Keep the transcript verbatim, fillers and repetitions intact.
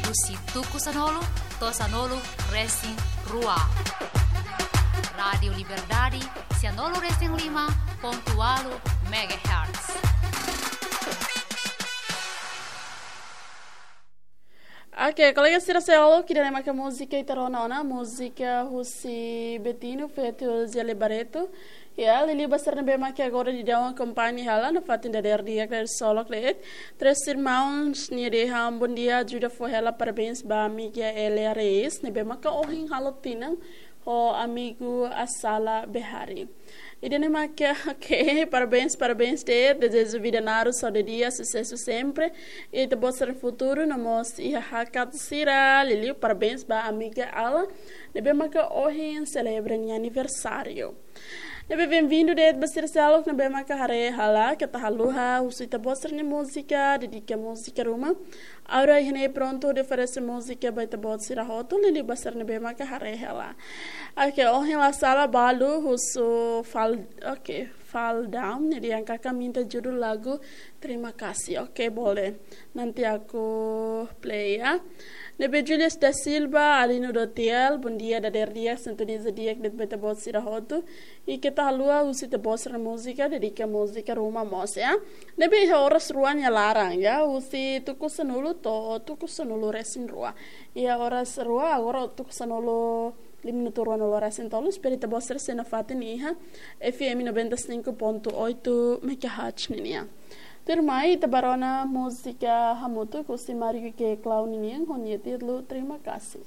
Husi tuku sanulu to'o sanulu resin rua. Rádiu Liberdade, sanulu resin lima pontu ualu megahertz. Oke, kolega sira seluk, ida-ne'e maka múzika ita rona ona, múzika husi Betinho feat Zé Barreto. Ya, liuliu ba sira ne'ebé maka agora daudaun akompaña hela nafatin dadeer di'ak, dadeer solok de'it. Três Irmãos nia dehan bondia, ajuda fó hela parabéns ba amiga Elia Reis, ne'ebé maka ohin halo tinan ho amigu Asala Behari. Ida-ne'e maka, oke, parabéns, parabéns de'it, dezeja vida naruk, saúde di'ak, susesu sempre. Ita-boot sira-nia futuru, no mós iha hakat sira, liuliu parabéns ba amiga Ala, ne'ebé maka ohin selebra nia aniversáriu. Ne'ebé benvindu de'it ba sira seluk ne'ebé maka haree hela, keta haluha husu ita-boot sira-nia múzika, dedika múzika ruma. Agora iha ne'e prontu hodi oferese múzika ba ita-boot sira hotu, liuliu ba sira ne'ebé maka haree hela. Oke, ohin la sala balu husu Fal, oke, Fal Down, nia dehan karik minta judul lagu Terima Kasih. Oke, boleh. Nanti aku play ya. Ne'ebé Julius da Silva, Alino Dotiel, bondia, dadeer di'ak, sintoniza di'ak de'it ba ita-boot sira hotu. I keta haluha husu ita-boot sira-nia múzika, dedika múzika ruma mós ya. Ne'ebé iha oras rua nia laran ya, husi tuku sanulu to'o tuku sanulu resin rua. Iha oras rua, agora tuku sanulu, lima minutu ruanulu resin tolu, espera ita-boot sira sei nafatin iha F M noventa e cinco ponto oito megahertz ninian. Tuirmai ita bá rona múzika hamutuk husi Mario G Clown ninian, ho nia títulu Terima Kasih.